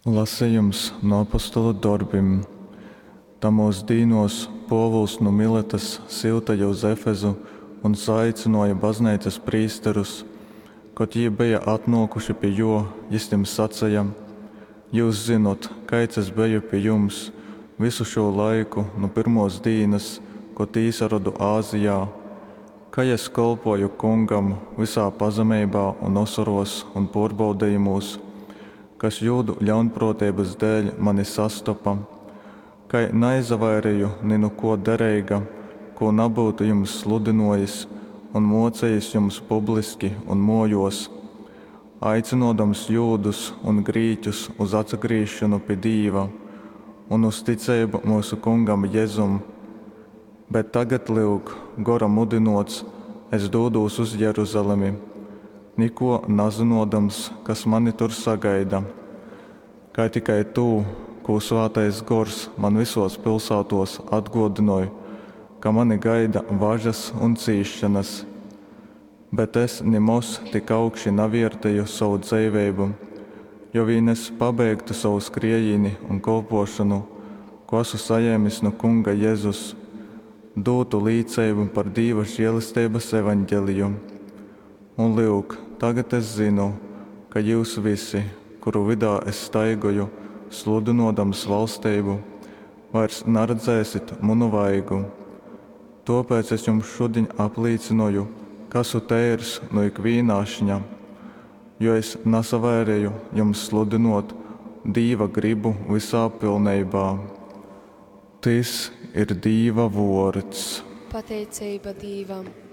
Lasejums nu Apostolu dorbim. Tamōs dīnōs Pōvuls nu Miletas syuteja uz Efezu un saaicynōja bazneicas prīsterus. Kad jī beja atnōkuši pi jō, jys tim saceja, Jyus zynot, kaids es beju pi jums vysu šū laiku nu pyrmōs dīnas, kod īsarodu Azijā, kai es kolpōju Kungam vysā pazemeibā un osorōs un pōrbaudejumūs, kas jūdu ļaunprōteibas dēļ mani sastopa. Kai naizavaireju ni nu kō dereiga, kō nabyutu jums sludynōjis un mōcejis jums publiski un mōjōs, aicynōdams jūdus un grīķus uz atsagrīzšonu pi Dīva un uz ticeibu myusu Kungam Jezum. Bet tagad, lyuk, Gora mudynōts, es dūdūs uz Jeruzalemi, nikō nazynōdams, kas mani tur sagaida, kai tikai tū, kū Svātais Gors man vysōs pilsātōs atgōdynoj, ka mani gaida važas un cīsšonas. Bet es nimoz tik augši navērteju sovu dzeiveibu, jo vīn es pabeigtu sovu skriejīni un kolpōšonu, kū asu sajēmis nu Kunga Jezus, dūtu līceibu par Dīva želesteibas Evangeliju. Un, lyuk, tagad es zynu, ka jyus visi, kuru vydā es staigoju, sludynōdams valsteibu, vairs naredzēsit munu vaigu. Tōpēc es jums šudiņ aplīcynoju, ka asu teirs nu ikvīna ašņa, jo es nasavaireju jums sludynōt Dīva grybu vysā pilneibā. Tys ir Dīva vōrds. Pateiceiba Dīvam.